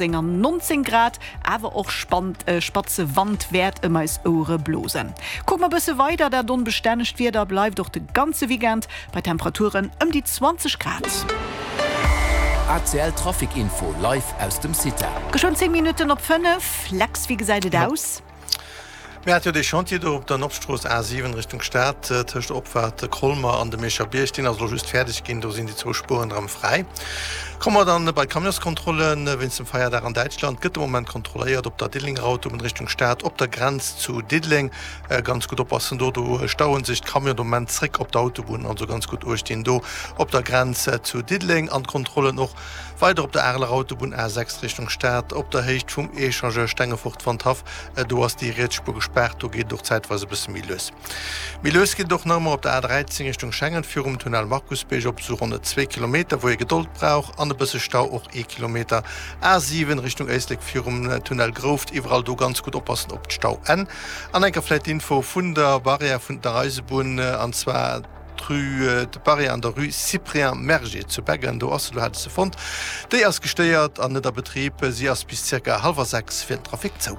An 19 Grad, awer och spatze Wand wäert ëm eis Ouere blosen. Kucke mer bësse weider, dat onbestännegt Wieder bleift och de ganze Weekend bei Temperaturen ëm déi 20 Grad. ACL Trafic Info live aus dem CITA. Geschwënn 10 Minutten op 5, Lex, wéi gesäit et aus? Mir hate jo dee Chantier do op der Nordstrooss A7 Richtung Stad tëscht der Opfaart Colmer an dem Mierscher Bierg. Deen ass elo just fäerdeg ginn, do sinn déi zwou Spueren erëm fräi. Komme mer dann bei d'Camionskontrollen. Wéinst dem Feierdag an Däitschland gëtt de Moment kontrolléiert op der Diddelenger Autobunn Richtung Stad op der Grenz zu Diddeleng. Ganz gutt oppassen do, do stauen sech d'Camionen de Moment zréck op der Autobunn. Also ganz gutt uecht dinn do op der Grenz zu Diddeleng an d'Kontrollen och Weider op der Areler Autobunn A6 Richtung Stad, op der Héicht vum Echangeur Stengefort-Wandhaff, do ass déi riets Spuer gespaart, do geet et och zäitweis e bësse méi lues. Méi lues geet et och nach ëmmer op der A13 Richtung Schengen, virum Tunnel Markusbierg op esou ronn zwee Kilometer, wou ee Gedold brauch an e bësse Stau, och ee Kilometer. A7 Richtung Éislek virum Tunnel Grouft, iwwerall do ganz gutt oppassen op d'Stauenn. An enker vläit d'Info vun der Barrière vun der Eisebunn, an zwar, D'Rue de Paris an der Rue Cyprien Merger zu Beggen, do ass se, do hat ech se fonnt. Déi ass gestéiert an net a Betrib. Si ass bis zirka hallwer 6 fir den Trafic zou.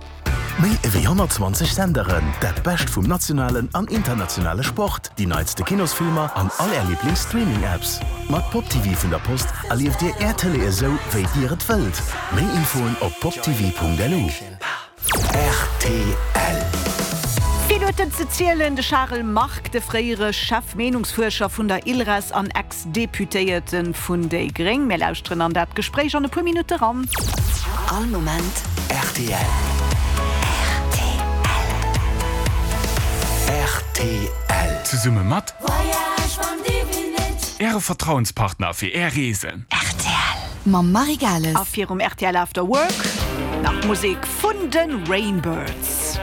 Méi ewéi 120 Senderen, dat Bescht vum nationalen an internationale Sport, déi neitste Kinosfilmer an all Är Liiblings-Streaming-Apps. Mat Pop TV vun der Post erlieft Dir Är Tëlee esou, wéi Dir et wëllt. Méi Infoen op poptv.lu. Rtl. Vill huet en ze zielen, de Charel Margue, de fréiere Chef-Meenungsfuerscher vun der ILRES an Ex-Deputéierte vun déi Gréng. Mir lauschteren an dat Gespréich an e puer Minutte ran. All Moment rtl. Rtl. Zesumme mat Äre Vertrauenspartner fir Är Reesen. Rtl. Mam Marie Gales. A virum rtl After Work nach Musek vun de Rainbirds.